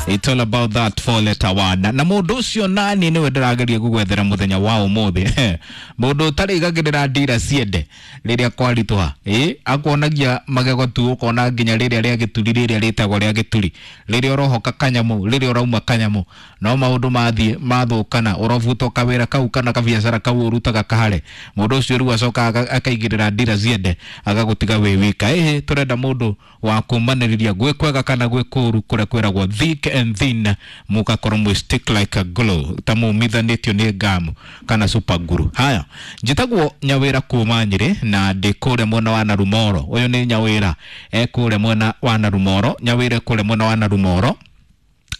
It's all about that four letter word. Na mũndũ ũcio nani nĩwe ndĩrageria gũgwethera mũthenya wa ũmũthĩ. Mũndũ ũtarĩigagĩrĩra ndira ciende rĩrĩa kwaritũha, ĩ akuonagia magego tu ũkona nginya rĩrĩa rĩa gĩturi, rĩrĩa rĩtagwo rĩa gĩturi, rĩrĩa ũrohoka kanyamũ, rĩrĩa ũrauma kanyamũ, no maũndũ mathiĩ mathũkana, ũrobutwo kawĩra kau kana kabiacara kau ũrutaga kahare, mũndũ ũcio rĩu acokaga akaigĩrĩra ndira ciende agagũtiga wĩ wika. Ĩhĩ, tũrenda mũndũ wa kũmanĩrĩria gwĩ kwega kana gwĩ kũũru, kũrĩa kwĩragwo thick and thin, mũgakorwo mwĩ stick like a glue, ta mumithanĩtio nĩ ngamu kana super glue. Haya, njĩtagwo Nyawĩra kuma Nyĩrĩ na ndĩ kũrĩa mwena wa Narumoro. Ũyũ nĩ Nyawĩra e kũrĩa mwena wa Narumoro. Nyawĩra e kũrĩa mwena wa Narumoro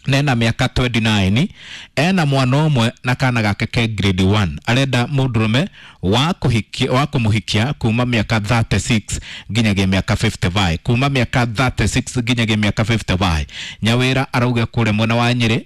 nena mĩaka 29, ena mwana ũmwe na kana gake ke grade 1. Arenda mũndũrũme wa kũhikia, wa kũmũhikia kuma mĩaka 36 nginyagia mĩaka 55, kuma mĩaka 36 nginyagia mĩaka 55. Nyawĩra arauga kũrĩa mwena wa Nyĩrĩ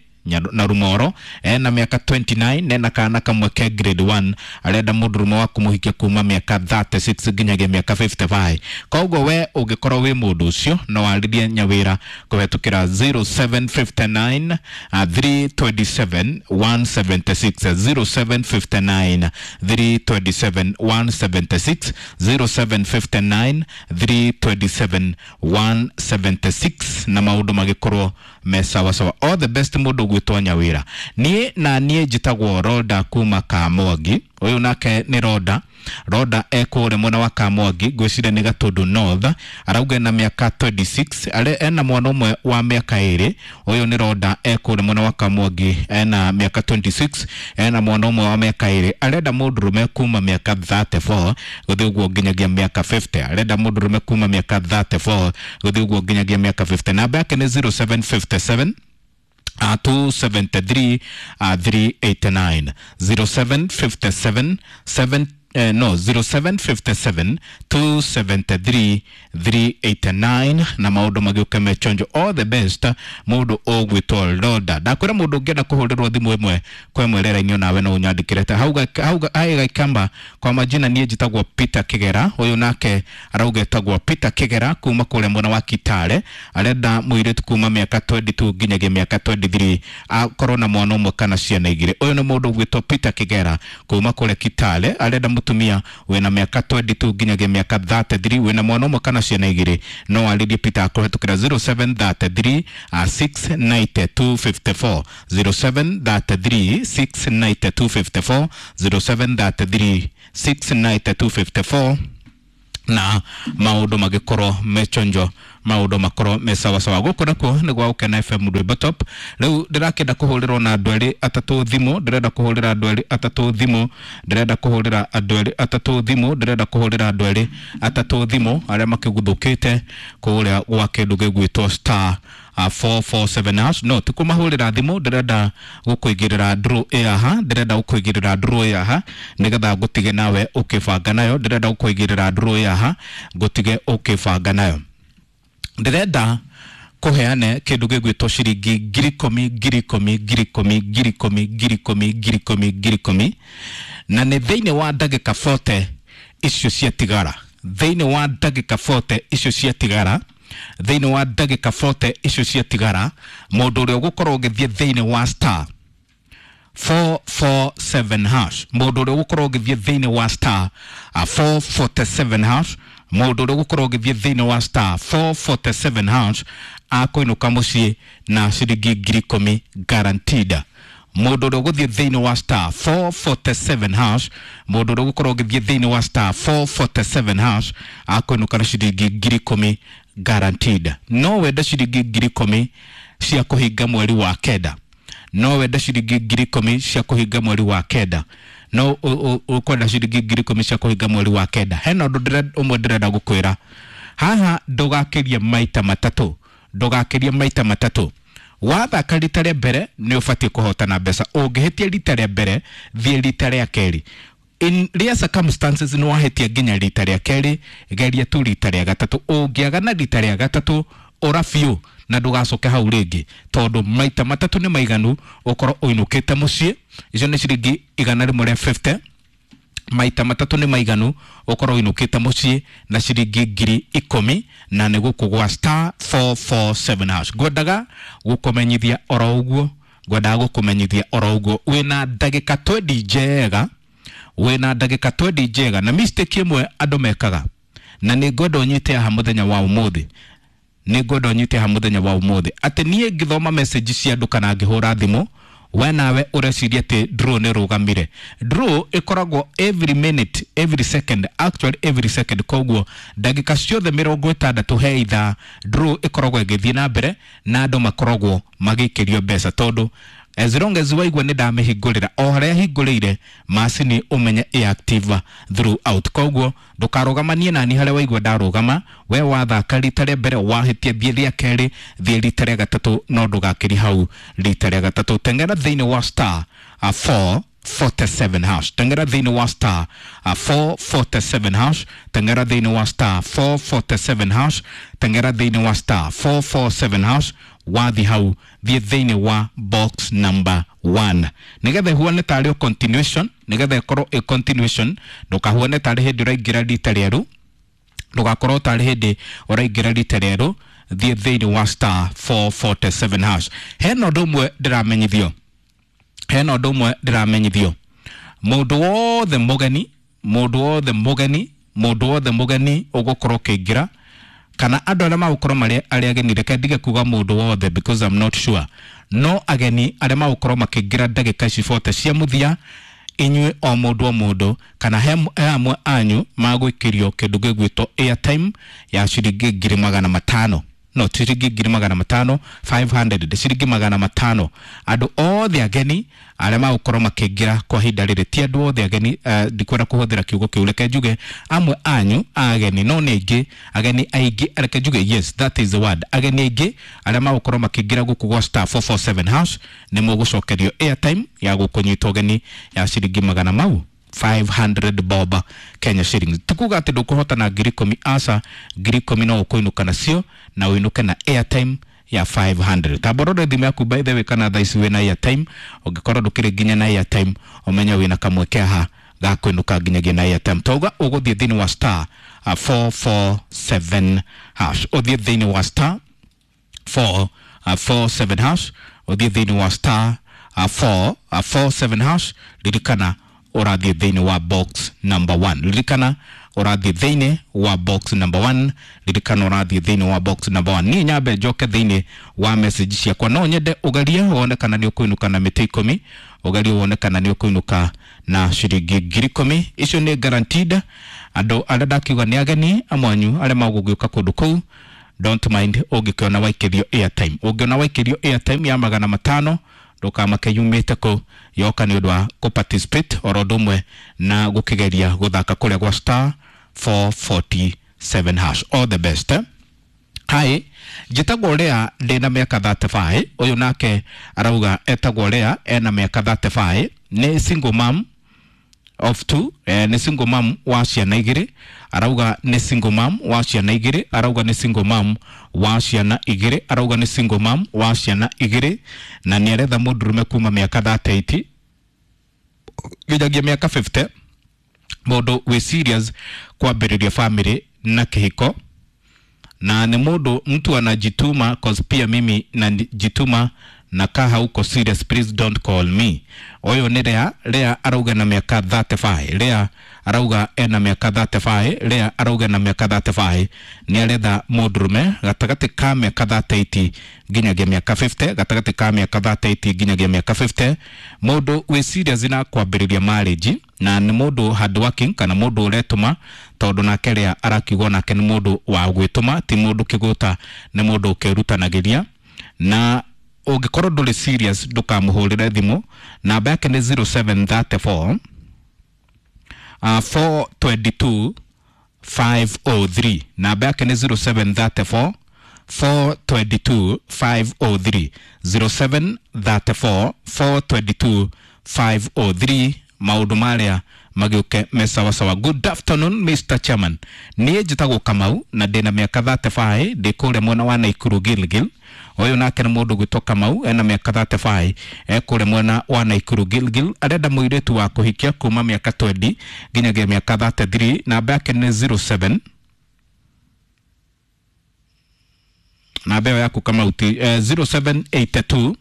na Rumoro, ena mĩaka 29, nena kana kamwe ke grade 1. Arenda mũndũrũme wa kũmũhikia kuma mĩaka 36 nginyagia mĩaka 55. Koguo we ũngĩkorwo wĩ mũndũ ũcio no warĩrie Nyawĩra kũhetũkĩra 0759 327 176, 0759 327 176, 0759 327 176, na maũndũ magĩkorwo me sawasawa. All the best mũndũ ũgwĩtwo Nyawĩra. Niĩ na niĩ njĩtagwo Roda kuma Kamwangi. Ũyũ nake nĩ Roda. Roda e kũrĩa mwena wa Kamwangi, ngwĩciria nĩ Gatũndũ North. Arauga ena mĩaka 26, are ena mwana ũmwe wa mĩaka 2. Ũyũ nĩ Roda e kũrĩa mwena wa Kamwangi, ena mĩaka 26, ena mwana ũmwe wa mĩaka 2. Arenda mũndũrũme kuma mĩaka 34 gũthiĩ ũguo nginyagia mĩaka 50. Arenda mũndũrũme kuma mĩaka 34 gũthiĩ ũguo nginyagia mĩaka 50. Namba yake nĩ 0757 273 389, 0757 7 no 0757 273 389, na maũndũ magĩũke mechonjo. All the best mũndũ ũgwĩtwo Roda. Ndakwĩra mũndũ ũngĩenda kũhũrĩrwo thimũ ĩmwe kwa ĩmwe rĩera-inĩ onawe no ũnyandĩkĩre ta hau hau aĩ Gaikamba. Kwa majina niĩ njĩtagwo Peter Kĩgera. Ũyũ nake arauga etagwo Peter Kĩgera kuma kũrĩa mwena wa Kitale. Arenda mũirĩtu kuma mĩaka 22 nginyagia mĩaka 23, akorwo na mwana ũmwe kana ciana igĩrĩ. Ũyũ nĩ mũndũ ũgwĩtwo Peter Kĩgera kuma kũrĩa Kitale, arenda mũtumia wĩna mĩaka 22 nginyagia mĩaka 33, wĩna mwana ũmwe kana ciana igĩrĩ. No arĩrie Peter akũhetũkĩra 0733 69254, 0733 69254, 0733 69254, na maũndũ magĩkorwo mechonjo, maũndũ makorwo me sawasawa. Gũkũ nakuo nĩ gwa Gũkena FM Rwĩmbo Top. Rĩu ndĩrakĩenda kũhũrĩrwo na andũ erĩ atatũ thimũ, ndĩrenda kũhũrĩra andũ erĩ atatũ thimũ, ndĩrenda kũhũrĩra andũ erĩ atatũ thimũ, ndĩrenda kũhũrĩra andũ erĩ atatũ thimũ arĩa makĩguthũkĩte kũrĩa gwa kĩndũ gĩgwĩtwo star 447 hash. No ti kũmahũrĩra thimũ, ndĩrenda gũkũigĩrĩra draw ĩyaha, ndĩrenda gũkũigĩrĩra draw ĩyaha nĩgetha ngũtige nawe ũkĩbanga nayo. Ndĩrenda gũkũigĩrĩra draw ĩyaha ngũtige ũkĩbanga nayo. Ndĩrenda kũheane kĩndũ gĩgwĩtwo ciringi 10,000, 10,000, 10,000, 10,000, 10,000, 10,000, 10,000, na nĩ thĩinĩ wa ndagĩka 40 icio ciatigara, thĩinĩ wa ndagĩka 40 icio ciatigara, thĩinĩ wa ndagĩka 40 icio ciatigara, mũndũ ũrĩa ũgũkorwo ũgĩthiĩ thĩinĩ wa star 447 hash, mũndũ ũrĩa ũgũkorwo ũgĩthiĩ thĩinĩ wa star 447 hash, mũndũ ũrĩa ũgũkorwo ũgĩthiĩ thĩinĩ wa star 447 hash akũinũka mũciĩ na ciringi 10,000 guaranteed. Mũndũ ũrĩa ũgũthiĩ thĩinĩ wa star 447 hash, mũndũ ũrĩa ũgũkorwo ũgĩthiĩ thĩinĩ wa star 447 hash akũinũka na ciringi 10,000 guaranteed. No wende ciringi 10,000 cia kũhinga mweri wa kenda, no wende ciringi 10,000 cia kũhinga mweri wa kenda, no ũkwenda ciringi 10,000 cia kũhinga mweri wa kenda. Hena ũndũ ũmwe ndĩrenda gũkwĩra haha, ndũgakĩrie maita matatũ, ndũgakĩrie maita matatũ. Wathaka rita rĩa mbere nĩ ũbatiĩ kũhotana mbeca. Ũngĩhĩtia rita rĩa mbere, thiĩ rita rĩa kerĩ. In rare circumstances nĩ wahĩtia nginya rita rĩa kerĩ, geria tu rita rĩa gatatũ. Ũngĩaga na rita rĩa gatatũ, ũra biũ na ndũgacoke hau rĩngĩ, tondũ maita matatũ nĩ maiganu ũkorwo ũinũkĩte mũciĩ. Icio nĩ ciringi 150. Maita matatũ nĩ maiganu ũkorwo ũinũkĩte mũciĩ na ciringi 10,000, na nĩ gũkũ gwa star 447 hash. Ngwendaga gũkũmenyithia oro ũguo, ngwendaga gũkũmenyithia oro ũguo wĩna ndagĩka 20 njega, wĩna ndagĩka 20 njega. Na mistake ĩmwe andũ mekaga, na nĩ ngwenda ũnyite haha mũthenya wa ũmũthĩ, nĩ ngwenda ũnyite haha mũthenya wa ũmũthĩ, atĩ niĩ ngĩthoma message cia andũ kana ngĩhũra thimũ, we nawe ũreciria atĩ draw nĩ rũgamire. Draw ĩkoragwo every minute, every second, actually every second. Koguo ndagĩka ciothe 60 he ithaa, draw ĩkoragwo ĩgĩthiĩ na mbere na andũ makoragwo magĩikĩrio mbeca, tondũ as long as waigua nĩ ndamĩhingũrĩra o harĩa hingũrĩire macini, ũmenye ĩ active throughout. Koguo ndũkarũgamanie nani harĩa waigua ndarũgama. We wathaka rita rĩa mbere wahĩtia, thiĩ rĩa kerĩ, thiĩ rita rĩa gatatũ, no ndũgakĩri hau rita rĩa gatatũ. Teng'era thĩinĩ wa star 447 hash, teng'era thĩinĩ wa star 447 hash, teng'era thĩinĩ wa star 447 hash, teng'era thĩinĩ wa star 447 hash. Wathi hau, thiĩ thĩinĩ wa box number 1, nĩgetha ĩhuane tarĩ o continuation, nĩgetha ĩkorwo ĩ continuation. Ndũkahuane tarĩ hĩndĩ ũraingĩra rita rĩerũ, ndũgakorwo tarĩ hĩndĩ ũraingĩra rita rĩerũ. Thiĩ thĩinĩ wa star 447 hash. Hena ũndũ ũmwe ndĩramenyithio, hena ũndũ ũmwe ndĩramenyithio. Mũndũ wothe mũgeni, mũndũ wothe mũgeni, mũndũ wothe mũgeni ũgũkorwo ũkĩingĩra, kana andũ arĩa magũkorwo marĩ arĩa ageni, reke ndige kuga mũndũ wothe because I'm not sure, no ageni arĩa magũkorwo makĩingĩra ndagĩka ici 40 cia mũthia, inyuĩ o mũndũ o mũndũ kana he amwe anyu magũikĩrio kĩndũ gĩgwĩtwo airtime ya ciringi 500,000, no ti ciringi 500,000, 500, ciringi 500. Andũ othe ageni arĩa magũkorwo makĩingĩra kwa ihinda rĩrĩ, ti andũ othe ageni, ndikwenda kũhũthĩra kiugo kĩu, reke njuge amwe anyu ageni, no nĩ aingĩ, ageni aingĩ, reke njuge, yes, that is the word, ageni aingĩ arĩa magũkorwo makĩingĩra gũkũ gwa star 447 hash, nĩ mũgũcokerio airtime ya gũkũnyita ũgeni ya ciringi magana mau 500 bob, Kenya shillings. Tikuga atĩ ndũkũhota na 10,000, aca, 10,000 no ũkũinũka nacio na ũinũke na airtime ya 500. Tamborore thimũ yaku, by the way, kana thaa ici wĩna airtime. Ũngĩkorwo ndũkĩrĩ nginya na airtime, ũmenye wĩna kamweke haha ga kũinũka nginyagia na airtime. Tauga ũgũthiĩ thĩinĩ wa star 447 hash, ũthiĩ thĩinĩ wa star 447 hash, ũthiĩ thĩinĩ wa star 447 hash. Ririkana ũrathiĩ thĩinĩ wa box number 1, ririkana ũrathiĩ thĩinĩ wa box number 1, ririkana ũrathiĩ thĩinĩ wa box number 1. Niĩ nyambe njoke thĩinĩ wa message ciakwa. No nyende ũgerie wone kana nĩ ũkũinũka na mĩtĩ 10, ũgerie wone kana nĩ ũkũinũka na ciringi 10,000. Icio nĩ guaranteed. Andũ arĩa ndakiuga nĩ ageni amwanyu arĩa magũgĩũka kũndũ kũu, don't mind ũngĩkĩona waikĩrio airtime, ũngĩona waikĩrio airtime ya 500, ndũkamake yumĩte kũ, yoka nĩ ũndũ wa kũ participate oro ũndũ ũmwe na gũkĩgeria gũthaka kũrĩa gwa star 447 hash. All the best, eh? Hi, njĩtagwo Lea, ndĩna mĩaka 35. Ũyũ nake arauga etagwo Lea, ena mĩaka 35, nĩ single mom of two, nĩ single mom wa ciana igĩrĩ. Arauga nĩ single mom wa ciana igĩrĩ, arauga nĩ single mom wa ciana igĩrĩ, arauga nĩ single mom wa ciana igĩrĩ, na nĩ aretha mũndũrũme kuma mĩaka 38 nginyagia mĩaka 50, mũndũ wĩ serious kwambĩrĩria family na kĩhiko, na nĩ mũndũ mtu anajituma, cause pia mimi najituma, na ka hauko serious, please don't call me. Ũyũ nĩ Lea. Lea arauga na mĩaka 35, Lea arauga ena mĩaka 35, Lea arauga na mĩaka 35, nĩ aretha mũndũrũme gatagatĩ ka mĩaka 38 nginyagia mĩaka 50, gatagatĩ ka mĩaka 38 nginyagia mĩaka 50, mũndũ wĩ serious na kwambĩrĩria marriage, na nĩ mũndũ hard working kana mũndũ ũretũma, tondũ nake Lea arakiuga nake nĩ mũndũ wa gwĩtũma, ti mũndũ kĩgũta, nĩ mũndũ ũkĩrutanagĩria. Na ũngĩkorwo ndũrĩ serious, ndũkamũhũrĩre thimũ. Namba yake nĩ 0734 422 503. Namba yake nĩ 0734 422 503, 0734 422 503. Maũndũ marĩa magĩũke me sawasawa. Good afternoon, Mr Chairman, niĩ njĩtagwo Kamau na ndĩna mĩaka 35, ndĩ kũrĩa mwena wa Naikuru Gilgil. Ũyũ nake nĩ mũndũ gwĩtwo Kamau, ena mĩaka 35, ekũrĩa mwena wa Naikuru Gilgil, arenda mũirĩtu wa kũhikia kuma mĩaka 20 nginyagia mĩaka 33. Namba yake nĩ 07, namba ĩyo yaku Kamau ti 0782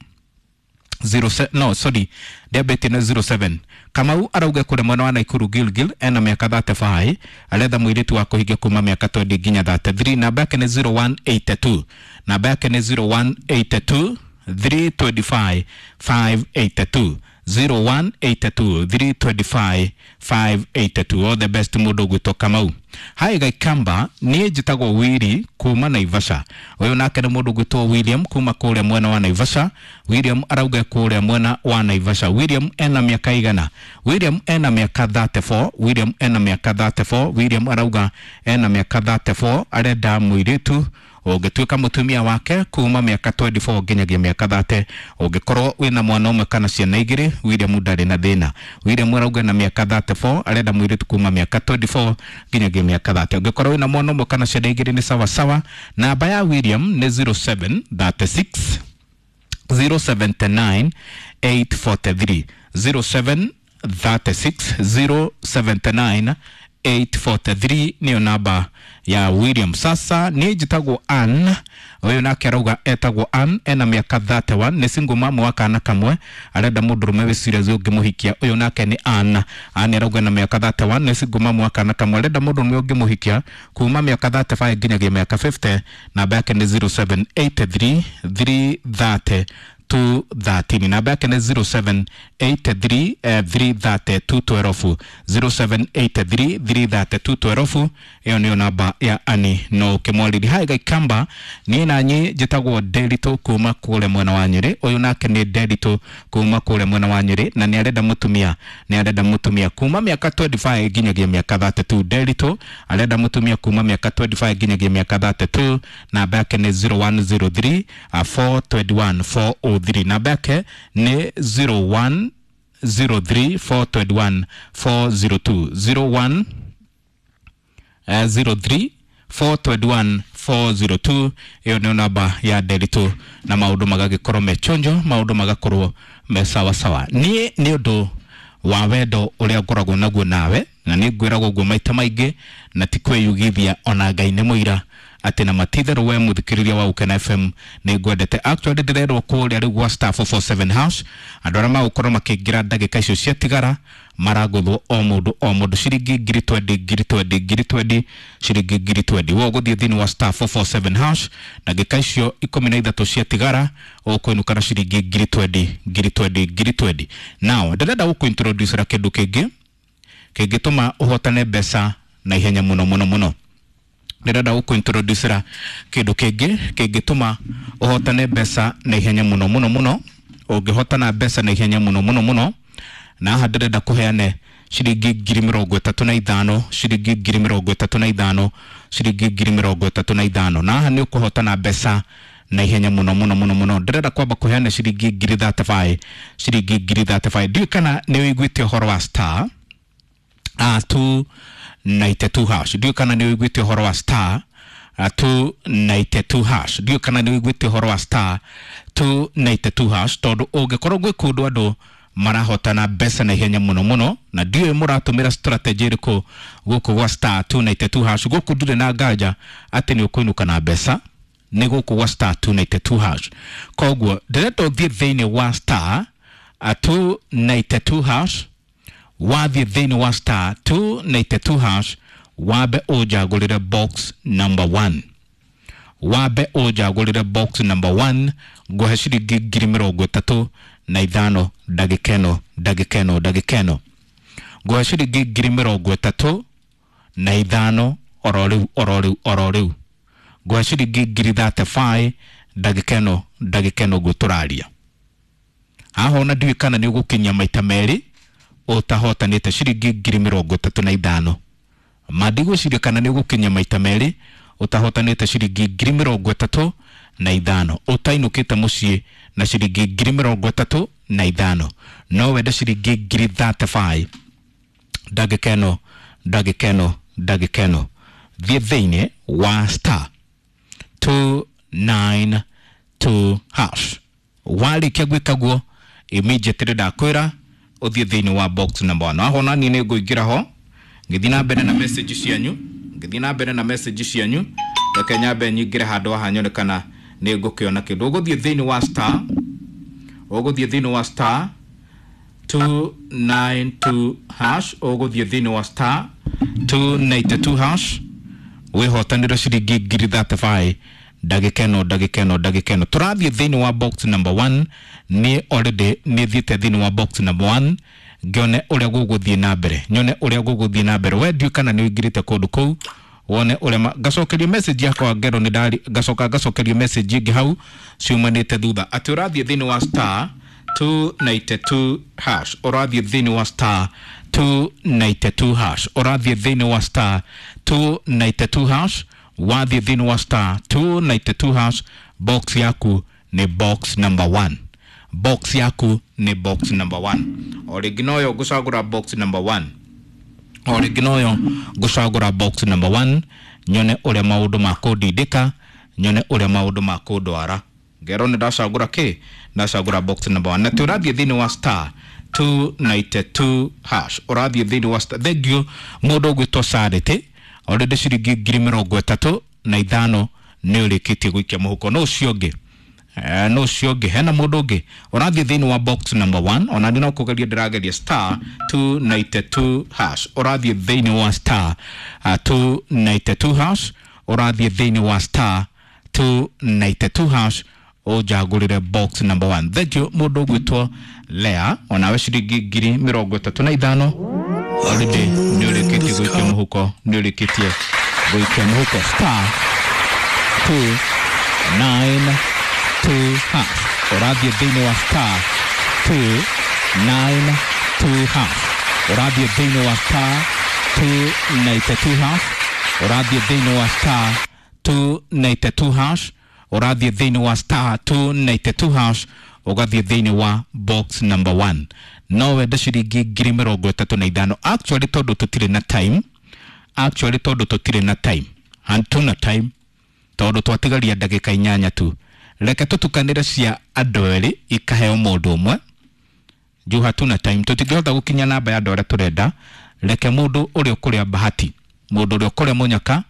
07, no sorry, ndĩambĩtie na 07. Kamau arauga kũrĩa mwena wa Naikuru Gilgil, ena mĩaka 35, aretha mũirĩtu wa kũhikia kuma mĩaka 20 nginya 33. Namba yake nĩ 0182, namba yake nĩ 0182 325 582, 0182 325 582. All the best mũndũ ũgwĩtwo Kamau. Hi Gaikamba, niĩ njĩtagwo Wili kuma Naivasha. Ũyũ nake nĩ mũndũ ũgwĩtwo William kuma kũrĩa mwena wa Naivasha. William arauga kũrĩa mwena wa Naivasha. William ena mĩaka igana? William ena mĩaka 34. William ena mĩaka 34. William arauga ena mĩaka 34, arenda mũirĩtu ũngĩtuĩka mũtumia wake kuma mĩaka 24 nginyagia mĩaka 30. Ũngĩkorwo wĩna mwana ũmwe kana ciana igĩrĩ, William ndarĩ na thĩna. William arauga na mĩaka 34, arenda mũirĩtu kuma mĩaka 24 nginyagia mĩaka 30. Ũngĩkorwo wĩna mwana ũmwe kana ciana igĩrĩ nĩ sawa sawa. Namba ya William nĩ 0736 079 843, 0736 079 843 niyo namba ya William. Sasa niĩ njĩtagwo Ann. Ũyũ nake arauga etagwo Ann, ena mĩaka 31, nĩ single mama wa kana kamwe, arenda mũndũrũme wĩ serious ũngĩmũhikia. Ũyũ nake nĩ Ann. Ann arauga na mĩaka 31, nĩ single mama wa kana kamwe, arenda mũndũrũme ũngĩmũhikia kuma mĩaka 35 nginyagia mĩaka 50. Namba yake nĩ 0783 330 213. Namba yake nĩ 0783 330 212, 0783 330 212. Ĩyo nĩyo namba ya Ani no ũkĩmwarĩria. Hi Gaikamba, niĩ nanyi njĩtagwo Nderitu kuma kũrĩa mwena wa Nyĩrĩ. Ũyũ nake nĩ Nderitu kuma kũrĩa mwena wa Nyĩrĩ, na nĩ arenda mũtumia, nĩ arenda mũtumia kuma mĩaka 25 nginyagia mĩaka 32. Nderitu arenda mũtumia kuma mĩaka 25 nginyagia mĩaka 32. Namba yake nĩ 0103 421 403. Namba yake nĩ 0103 421 402, 01 03 421 402. Ĩyo nĩyo namba ya Nderitu, na maũndũ magagĩkorwo me chonjo, maũndũ magakorwo me sawa sawa. Niĩ nĩ ũndũ wa wendo ũrĩa ngoragwo naguo nawe, na nĩ ngwĩragwo ũguo maita maingĩ na ti kwĩyugithia, ona Ngai nĩ mũira atĩ na matitherũ we mũthikĩrĩria wa Ukena FM nĩ ngwendete. Actually ndĩrerwo kũrĩa rĩu gwa star 447 hash, andũ arĩa magũkorwo makĩingĩra ndagĩka icio ciatigara maragũthwo o mũndũ o mũndũ ciringi ngiri 20, ngiri 20, ngiri 20, ciringi ngiri 20. We ũgũthiĩ thĩinĩ wa star 447 hash, ndagĩka icio 13 ciatigara ũkũinũka na ciringi ngiri 20, ngiri 20, ngiri 20. Now ndĩrenda gũkũintroducera kĩndũ kĩngĩ kĩngĩtũma ũhotane mbeca na ihenya mũno mũno mũno. Ndĩrenda gũkũintroducera kĩndũ kĩngĩ kĩngĩtũma ũhotane mbeca na ihenya mũno mũno mũno. Ũngĩhotana mbeca na ihenya mũno mũno mũno, na haha ndĩrenda kũheane ciringi 35,000, ciringi 35,000, ciringi 35,000, na haha nĩ ũkũhotana mbeca na ihenya mũno mũno mũno mũno. Ndĩrenda kwamba kũheana ciringi 35,000, ciringi 35,000. Ndiũĩ kana nĩ ũiguĩte ũhoro wa star 292 hash. Ndiũĩ kana nĩ ũiguĩte ũhoro wa star 292 hash. Ndiũĩ kana nĩ ũiguĩte ũhoro wa star 292 hash, tondũ ũngĩkorwo gwĩ kũndũ andũ marahotana mbeca na ihenya mũno mũno, na ndiũĩ mũratũmĩra strategy ĩrĩkũ gũkũ gwa star 292 hash. Gũkũ ndirĩ na nganja atĩ nĩ ũkũinũka na mbeca nĩ gũkũ gwa star 292 hash. Koguo ndĩrenda ũthiĩ thĩinĩ wa star 292 hash. Wathiĩ thĩinĩ wa star 292 hash, wambe ũnjagũrĩre box number 1, wambe ũnjagũrĩre box number 1, ngũhe ciringi 35,000 ndagĩka ĩno, ndagĩka ĩno, ndagĩka ĩno. Ngũhe ciringi 35,000 oro rĩu, oro rĩu, oro rĩu. Ngũhe ciringi 35,000 ndagĩka ĩno, ndagĩka ĩno ũguo tũraria. Haha ona ndiũĩ kana nĩ ũgũkinyia maita merĩ ũtahotanĩte ciringi 35,000. Ma ndigwĩciria kana nĩ ũgũkinyia maita merĩ ũtahotanĩte ciringi 35,000, ũtainũkĩte mũciĩ na ciringi 35,000. No wende ciringi 35,000 ndagĩka ĩno, ndagĩka ĩno, ndagĩka ĩno. Thiĩ thĩinĩ wa star 292 2 hash. Warĩkia gwĩka guo immediately ndakwĩra ũthiĩ thĩinĩ wa box number 1. Aho nani nĩ ngũingĩra ho ngĩthiĩ na mbere na message cianyu, ngĩthiĩ na mbere na message cianyu. Reke nyambe nyingĩre handũ haha nyone kana nĩ ngũkĩona kĩndũ. Ũgũthiĩ thĩinĩ wa star, ũgũthiĩ thĩinĩ wa star 292 hash, ũgũthiĩ thĩinĩ wa star 292 hash wĩhotanĩre ciringi ngiri 35 ndagĩka ĩno, ndagĩka ĩno, ndagĩka ĩno. Tũrathiĩ thĩinĩ wa box number 1. Niĩ already nĩ thiĩte thĩinĩ wa box number 1 ngĩone ũrĩa gũgũthiĩ na mbere, nyone ũrĩa gũgũthiĩ na mbere. We ndiũĩ kana nĩ ũingĩrĩte kũndũ kũu wone ũrĩa ngacokerio message yakwa ngero nĩ ndari ngacoka ngacokerio message ĩngĩ hau ciumanĩte thutha atĩ ũrathiĩ thĩinĩ wa star 292 hash, ũrathiĩ thĩinĩ wa star 292 hash, ũrathiĩ thĩinĩ wa star 292 hash, wathiĩ thĩinĩ wa star 292 hash. Box yaku nĩ box number 1, box yaku nĩ box number 1. O rĩngĩ noyo ngũcagũra box number 1, o rĩngĩ noyo ngũcagũra box number 1 nyone ũrĩa maũndũ makũndindĩka, nyone ũrĩa maũndũ makũndwara. Ngero nĩ ndacagũra kĩ, ndacagũra box number 1. Na tĩ ũrathiĩ thĩinĩ wa star 292 hash, ũrathiĩ thĩinĩ wa star. Thank you mũndũ ũgwĩtwo Charity, already ciringi ngiri mĩrongo ĩtatũ na ithano nĩ ũrĩkĩtie gũikia mũhuko. No ũcio ũngĩ, no ũcio ũngĩ, hena mũndũ ũngĩ ũrathiĩ thĩinĩ wa box number 1. Ona niĩ no kũgeria ndĩrageria star 292 hash, ũrathiĩ thĩinĩ wa star 292 hash, ũrathiĩ thĩinĩ wa star 292 hash ũnjagũrĩre box number 1. Thank you mũndũ ũgwĩtwo Lea, onawe ciringi ngiri mĩrongo ĩtatũ na ithano already nĩ ũrĩkĩtie gũikia mũhuko, nĩ ũrĩkĩtie gũikia mũhuko. Star 292 hash, ũrathiĩ thĩinĩ wa star 292 hash, ũrathiĩ thĩinĩ wa star 292 hash, ũrathiĩ thĩinĩ wa star 292 hash, ũrathiĩ thĩinĩ wa star 292 hash, ũgathiĩ thĩinĩ wa box number 1. No wende ciringi ngiri mĩrongo ĩtatũ na ithano. Actually tondũ tũtirĩ na time, actually tondũ tũtirĩ na time, hatuna time tondũ twatigaria ndagĩka inyanya tu, reke tũtukanĩre cia andũ erĩ ikaheo mũndũ ũmwe juu hatuna time, tũtingĩhota gũkinya namba ya andũ arĩa tũrenda. Reke mũndũ ũrĩa ũkũrĩa bahati, mũndũ ũrĩa ũkũrĩa mũnyaka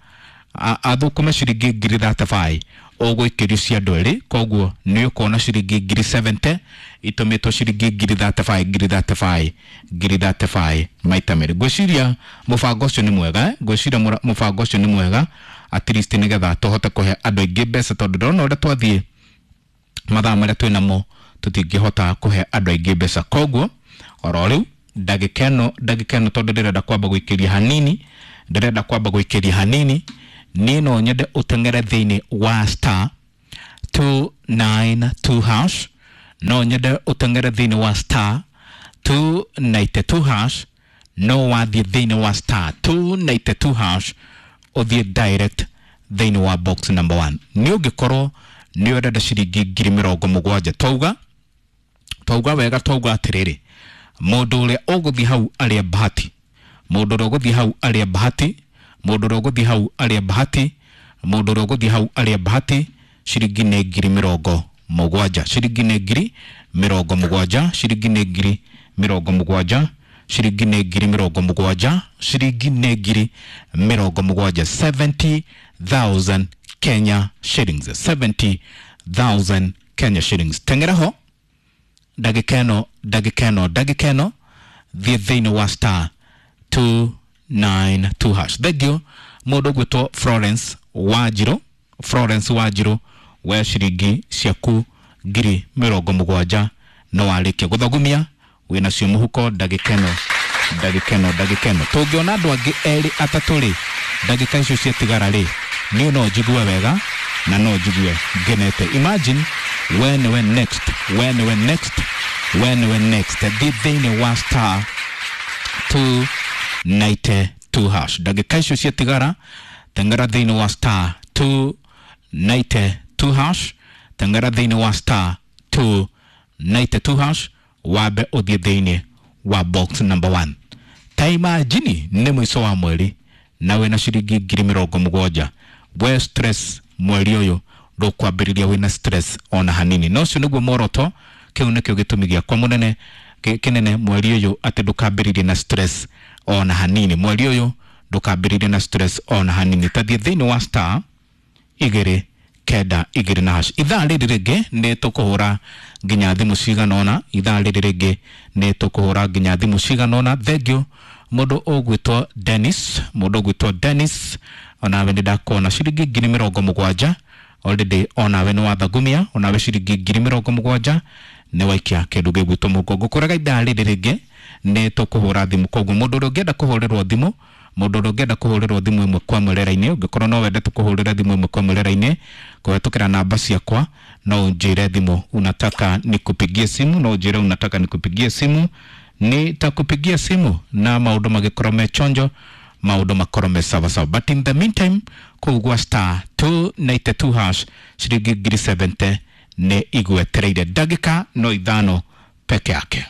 athũkũme ciringi ngiri 35 ũgũikĩrio cia andũ erĩ, koguo nĩ ũkuona ciringi ngiri 70 itũmĩtwo ciringi ngiri 35, ngiri 35, ngiri 35 maita merĩ. Ngwĩciria mũbango ũcio nĩ mwega, ngwĩciria mũbango ũcio nĩ mwega at least nĩgetha tũhote kũhe andũ aingĩ mbeca, tondũ ndĩrona ũrĩa twathiĩ mathaa marĩa twĩ namo tũtingĩhota kũhe andũ aingĩ mbeca. Koguo oro rĩu ndagĩka ĩno, ndagĩka ĩno tondũ ndĩrenda kwamba gũikĩria hanini, ndĩrenda kwamba gũikĩria hanini, niĩ no nyende ũteng'ere thĩinĩ wa star 292 hash, no nyende ũteng'ere thĩinĩ wa star 292 hash, no wathiĩ thĩinĩ wa star 292 hash ũthiĩ direct thĩinĩ wa box number 1. Nĩ ũngĩkorwo nĩ ũrenda ciringi ngiri mĩrongo mũgwanja, twauga, twauga wega, twauga atĩrĩrĩ, mũndũ ũrĩa ũgũthiĩ hau arĩa bahati, mũndũ ũrĩa ũgũthiĩ hau arĩa bahati, mũndũ ũrĩa ũgũthiĩ hau arĩa bahati, mũndũ ũrĩa ũgũthiĩ hau arĩa bahati, ciringi nĩ ngiri mĩrongo mũgwanja, ciringi nĩ ngiri mĩrongo mũgwanja, ciringi nĩ ngiri mĩrongo mũgwanja, ciringi nĩ ngiri mĩrongo mũgwanja, ciringi nĩ ngiri mĩrongo mũgwanja, 70,000 Kenya shillings, 70,000 Kenya shillings. Teng'era ho ndagĩka ĩno, ndagĩka ĩno, ndagĩka ĩno, thiĩ thĩinĩ wa star 292 hash. Thank you mũndũ ũgwĩtwo Florence Wanjirũ, Florence Wanjirũ, we ciringi ciaku ngiri mĩrongo mũgwanja no warĩkia gũthagumia wĩnacio mũhuko ndagĩka ĩno, ndagĩka ĩno, ndagĩka ĩno. Tũngĩona andũ angĩ erĩ atatũ rĩ, ndagĩka icio ciatigara rĩ, niĩ no njigue wega na no njigue ngenete. Imagine we nĩwe next, we nĩwe next, we nĩwe next. Thiĩ thĩinĩ wa star 292 hash. Ndagĩka icio ciatigara teng'era thĩinĩ wa star 292 hash, teng'era thĩinĩ wa star 292 hash, wambe ũthiĩ thĩinĩ wa box number 1. Ta imagine nĩ mũico wa mweri na wĩna ciringi ngiri mĩrongo mũgwanja, we stress mweri ũyũ Ndũkwambĩrĩria wĩna stress ona hanini. Na ũcio nĩguo muoroto, kĩu nĩkĩo gĩtũmi gĩakwa mũnene kĩnene mweri ũyũ, atĩ ndũkambĩrĩrie na stress ona hanini. Mweri ũyũ ndũkambĩrĩrie na stress ona hanini. Tathiĩ thĩinĩ wa star 292 na hash. Ithaa rĩrĩ rĩngĩ nĩ tũkũhũra nginya thimũ cigana ũna. Ithaa rĩrĩ rĩngĩ nĩ tũkũhũra nginya thimũ cigana ũna. Thengiũ mũndũ ũgwĩtwo Dennis, mũndũ ũgwĩtwo Dennis, onawe nĩ ndakuona ciringi 70,000 already, onawe nĩ wathagumia, onawe ciringi 70,000 nĩ waikia kĩndũ gĩgwĩtwo mũhuko. Ngũkwĩraga ithaa rĩrĩ rĩngĩ nĩ tũkũhũra thimũ, koguo mũndũ ũrĩa ũngĩenda kũhũrĩrwo thimũ, mũndũ ũrĩa ũngĩenda kũhũrĩrwo thimũ ĩmwe kwa ĩmwe rĩera-inĩ, ũngĩkorwo no wende tũkũhũrĩre thimũ ĩmwe kwa ĩmwe rĩera-inĩ kũhetũkĩra namba ciakwa, no ũnjĩre thimũ unataka nikupigie simu, no ũnjĩre unataka nikupigie simu, nitakupigia simu na maũndũ magĩkorwo me chonjo, maũndũ makorwo me sawa sawa. But in the meantime, kũu gwa star 292 hash ciringi 70,000 nĩ igwetereire, ndagĩka no 5 peke yake.